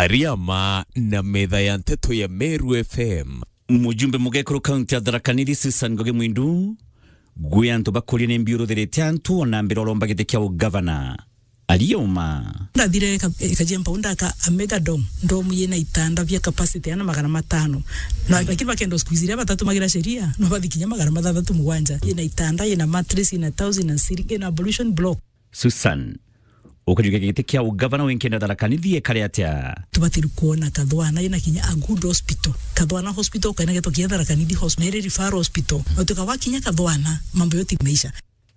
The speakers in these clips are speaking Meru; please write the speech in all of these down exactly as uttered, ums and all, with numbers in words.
Ariama na metha ya nteto ya Meru F M. Mujumbe mugekuru kaunti ya Tharaka Nithi Susan Ngugi Mwindu, gwi antu bakuria ni mbiuruthirite antu ona mbira uromba giti kia ugavana. Ariuma. Ndathire ka-, Kajempa undaka a mega dome, dome yina itanda bia capacity ana magana matano. Na lakini bakenda squeeze iria batatu magira sheria, no bathi kinya magana mathathatu mugwanja. Yina itanda, yina mattress, yina towels, yina ceiling, yina ablution block. Susan, ukajukia giti kia ugavana winkenda Tharaka Nithi ekare atia? Tubatiru kuona Kathwana ina kinya a good hospital. Kathwana hospital ukaina getwa kinya Tharaka Nithi hospital, na iri referral hospital. Na tukawa kinya Kathwana, mambo yote imeisha.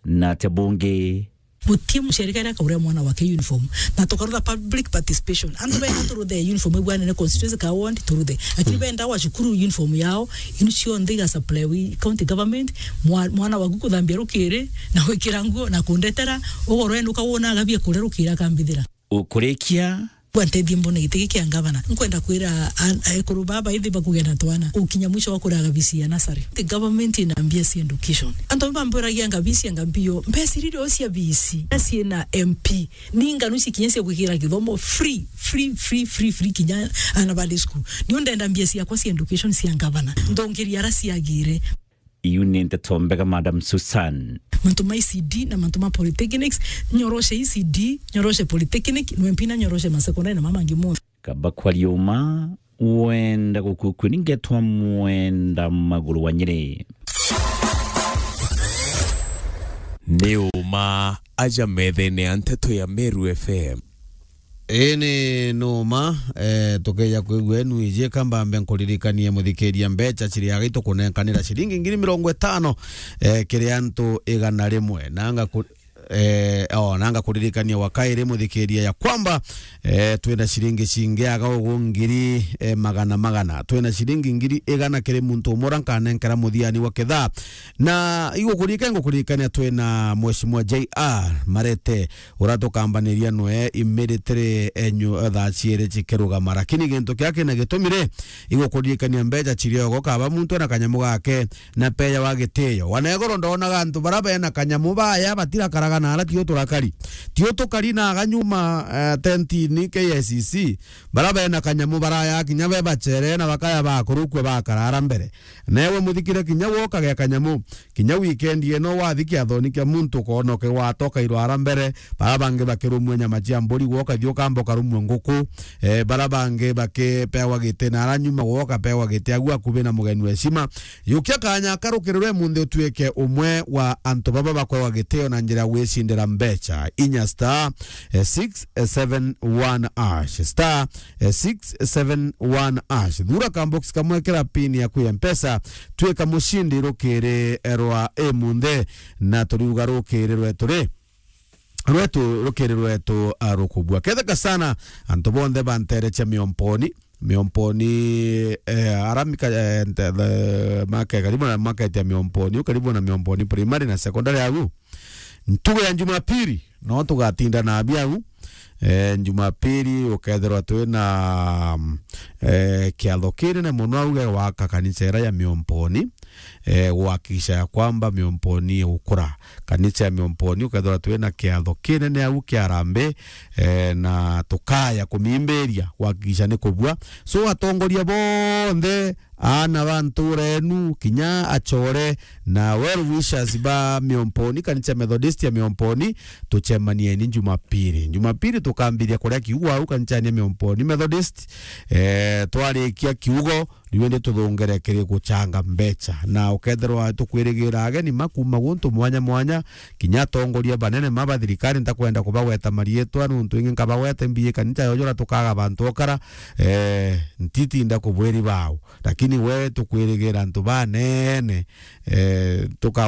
Na atia bungi? Guti muciari karia akauria mwana wake uniform. Na tukarutha public participation. Antu benda turuthe uniform ibwanene constituency ka ward turuthe. Lakini benda wa cukuru uniform yao, inu cionthe iga supply wi county government, mwa-, mwana waku kuthambia rukiri, na gwikira nguo, na kundetera, ugoro enu ukawona agabia kuria rukiri akambithira. Ukurikia? Bwa ntethie mbone giti giki kia ngavana. Nkwenda kwira an-, ekuru baba ithi bakugia na twana. Ukinya mwisho wa kuraga V C ya nasari. The government ina mbia cia education. Antu bamburagia nga V C anga mbio. Mbesa iria cia V C, na ciina M P. Ni nganu ici kinya cia gwikira githomo free, free, free, free, free kinya ana bali school. Ni undenda mbia ciakwa cia education cia ngavana. Ndongeria ara ciagire. Iu ni nteto mbega, Madam Susan. Mantu ma E C D na mantu ma polytechnics, nyoroshe E C D, nyoroshe polytechnic, nwe mpina nyoroshe ma secondary na mama mangi monthe. Kaba kwa riuma, wenda gukukua ni ngetwa Mwenda Maguru wa Nyeri. Ni uma aja methene ya nteto ya Meru F M. Ii ni numa, eh, tukeja kwigua enu iji, kamba mbe nkuririkanie muthikiria mbecha ciria gitukunenkanira ciringi ngiri mirongo itano, eh, kiri antu igana rimwe. Nanga ku-, eh, o, nanga kuririkania wa kairi muthikiria ya kwamba, eh, twina ciringi cingi aga ugu ngiri, eh, magana magana. Twina ciringi ngiri igana kiri muntu umwe uria nkanenkera muthiani wa kithaa. Na igukurika, ngukuririkania twina Mheshimiwa J R Marete, uria tukambaniria nwe imiritiri enyu thaa ciiri cikirugama. Lakini gintu kia kina gitumi ri, igukuririkania mbecha ciriogo, kaba muntu ena kanyamu gake na peya wa gitio. Wanegoro ndonaga antu bara bena kanyamu baya batirakaraga na ara tio turakari. Tio tukari na aga nyuma, eh, tentini K I C C. Bara bena kanyamu baraya kinya be bachere na bakaya bakurukua bakara ara mbere. Newe muthikire kinya woka ge kanyamu. Kinya weekend ino wathi kiathoni kia muntu ukoona ukigwata ukairwa ara mbere, bara bangi bakirumua nyama cia mburi, gwe ukathi ukamba ukarumua nguku, eh, bara bangi bakipewa giti na ara nyuma gwe ukapewa giti agu akubi na mugeni wa heshima. Yukia kanya aka rukirirwe munthi utuike umwe wa antu baba bakwewa gitio na njira ya gwicindira mbecha. Inya star, eh, six seven one hash. Star, eh, six seven one hash. Thura ka box kamwe kira pin yaku ya Mpesa, twika mucindi rukiri rwa imunthi, na turiuga rukiri rwetu ri, rwetu, rukiri rwetu, ah, rukubua. Ketheka sana, antu bonthe banterecha Miomponi, Miomponi, eh, ara mika-, eh, nte-, the, make-, karibu na market ya Miomponi, karibu na Miomponi primary na secondary agu. Ntugu ya Jumapili, no tugatinda na abi au. Eh, Jumapili ukethirwa twina, mm, eh, kiatho kinene muno au gia gwaka kanisa ira ya Miomponi, eh, gwakikisha ya kwamba Miomponi igukura. Kanisa ya Miomponi ukethirwa twina kiatho kinene au kia harambee, eh, na tukaya kumimbiria gwakikisha ni kubua. So atongoria bonthe, aana ba ntuura enu, kinya achore na well wishers ba Miomponi, kanisa Methodist ya Miomponi, tucemanieni Jumapili. Jumapili tukambiria kuria kiugo au kanisani ya Miomponi Methodist. Eh, twarikia kiugo, riu indi tuthungire kiri guchanga mbecha. Na ukethirwa tukwirigira ageni ma kuuma guntu mwanya mwanya, kinya atongoria banene ma ba thirikari, ntakwenda kubagweta mariitwa, nuntu ingi nkabagweta mbiye kanisa yojora tukaga bantu okara, eh, ntitinda kubwiri bao. Lakini we tukwirigira antu banene, eh, tuka-